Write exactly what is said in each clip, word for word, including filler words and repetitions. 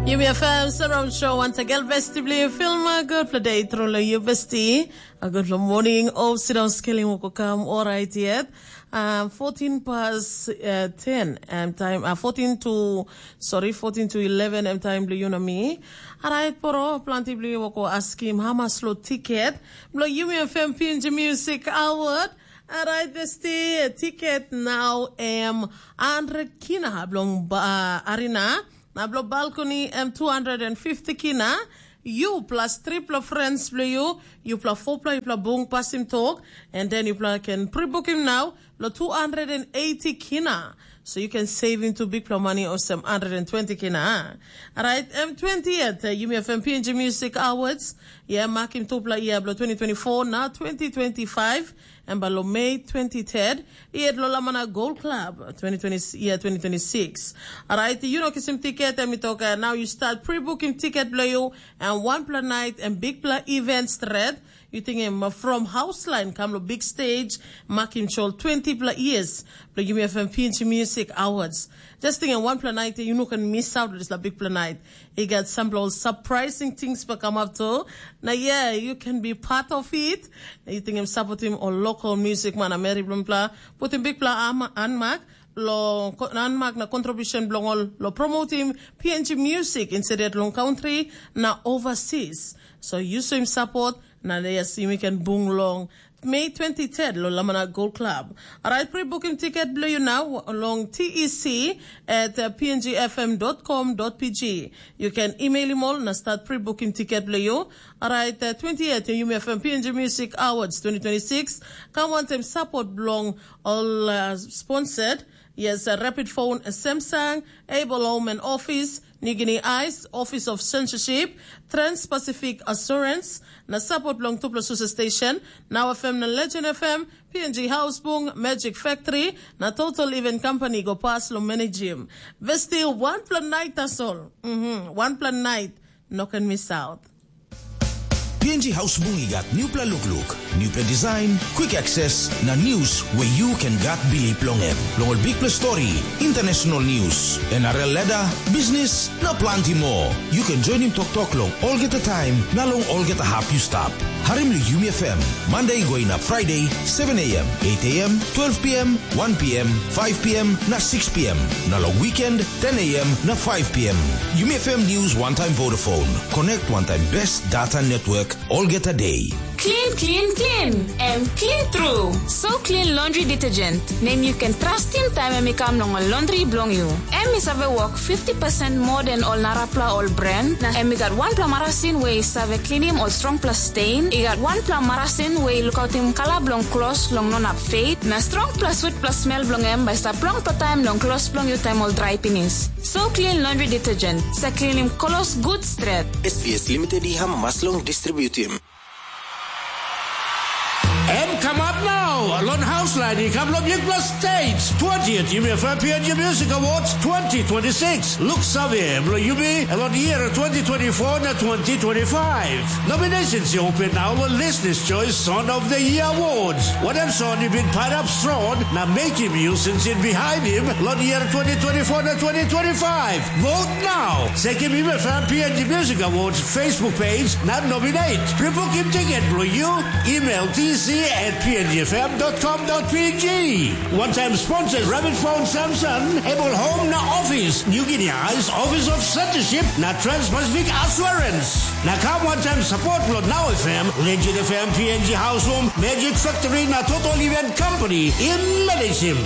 Yumi F M Surround Show once again, besti bli film, a gutpela day tru lo yu besti. A gutpela morning, of sidang skelim woko kam, alright yet. Um, fourteen past uh, ten, um, time, uh, fourteen to, sorry, fourteen to eleven, um, time bli yu na mi. Alright, poro, planti bli woko askim, hamas lo tiket, blo Yumi F M P N G Music Award. Alright, besti, tiket now, um, hundred kina, blong ba, arena. Na blo balcony em two hundred fifty kina. You plus tripla friends blo you, you plus fourpla, you plus bung pasim talk, and then you plus can pre-book him now, lo two hundred eighty kina. So you can save him to big pla money or some hundred twenty kina. Alright, M twenty at uh, Yumi F M P N G Music Awards. Yeah, mark him tupla year blo twenty twenty-four na twenty twenty-five. Em ba lo Mei twenty-third, yet lo Lamana Gold Club, twenty twenty, year twenty twenty-six. Alright, you know kisim ticket, em i tok, uh, now you start pre-booking ticket blo you, and one pla night and big pla event stret. You think him uh, from house line come lo big stage, mark him chol twenty pla years, blo Yumi F M P N G Music Awards. Just think, one pla night, you know, can miss out this la big pla night. He got some little surprising things for come up to. Now, yeah, you can be part of it. You think him support him or local music man, Mary Blumpla, put him big pla am- anmak, lo ko- anmak na contribution belong all lo promote him P N G music instead long country na overseas. So you show him support. Na yes, you can bung long Mei twenty-third lo Lamana Gold Club. Alright, pre-booking ticket blo you now long T E C at uh, P N G F M dot com dot P G. You can email him all na start pre-booking ticket blo you. Alright, uh, twenty-eight Yumi F M P N G Music Awards twenty twenty-six. Come on, time support belong all uh, sponsored. Yes, uh, Rapid Phone, uh, Samsung, Able Home and Office, New Guinea Ice, Office of Censorship, Trans-Pacific Assurance, na support long tupla susa station, Now F M na Legend F M, P N G Housebung, Magic Factory, na Total Event Company go pas long managim. Vesti one plan night tasol. Mm-hmm. One plan night. No can miss out. P N G Housebung i gat newpela lukluk, newpela design, quick access, na news where you can gat bilip long em. Long ol bikpela story, international news, N R L ladder, business, na planti moa. You can join him toktok long olgeta taim, na long olgeta hap you stap. Harim long Yumi F M, Monday go inap Friday, seven a.m., eight a.m., twelve p.m., one p.m., five p.m., na six p.m. Na long weekend, ten a.m. na five p.m. Yumi F M News one time Vodafone. Connect one time best data network olgeta day. Clean, clean, clean. Em clean tru. So clean laundry detergent. Nem you can trust him time em i kam long ol laundry bilong you. Em i save work fifty percent more than ol narapla ol brand. Na em i gat wanpela marasin we i save cleanim ol strongpela stain. I gat wanpela marasin we i lukautim kala bilong klos long no nap fade. Na strongpela sweetpela smell bilong em bai stap longpela taim long klos bilong you taim ol drai pinis. So clean laundry detergent. Sa cleanim klos good stret. S B S Limited i hamas long distributim. Em kamap nau, long haus lain i kam long bikpela stage. Twentieth Yumi F M P N G Music Awards twenty twenty-six. Look save, bilong yumi, long year twenty twenty-four na twenty twenty-five. Nominations i open nau long Listeners' Choice Song of the Year Awards. Wanem song i bin pairap strong na mekim you sinsin behind him long year twenty twenty-four na twenty twenty-five. Vote now. Sekim Yumi F M P N G Music Awards Facebook page na nominate. Pre-booking ticket bilong you, email T C at P N G F M dot com dot P G. One time sponsors Rabbit Phone Samson, Able Home na Office, New Guinea Eyes, Office of Censorship na Trans-Pacific Assurance. Na kam one time support bilong Now F M, Legend F M, P N G House Home, Magic Factory na Total Event Company in Medicine.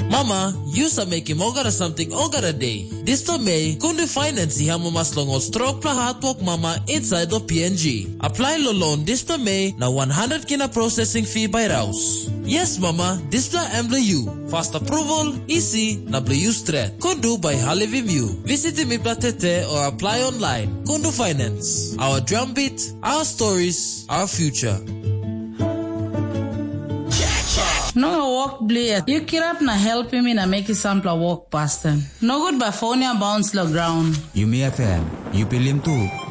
Mama, yu sa mekim olgeta samting olgeta de. Dispela mei, Kundu Finance i amamas long ol strongpela hatwok mama insait long P N G. Aplai long loan dispela mei na wan handret kina processing fee bai raus. Yes, mama, dispela em bilong yu. Fast approval, isi, na bilong yu stret. Kundu bai halivim yu. Visitim mipela tete o apply online. Kundu Finance. Our drumbeat, our stories, our future. Nonga wok blia, yu kirap na helpim mi na mekim sampela wok pasten. Nogut bai fon ya bauns long graun. Yumi F M, yu pilim tu.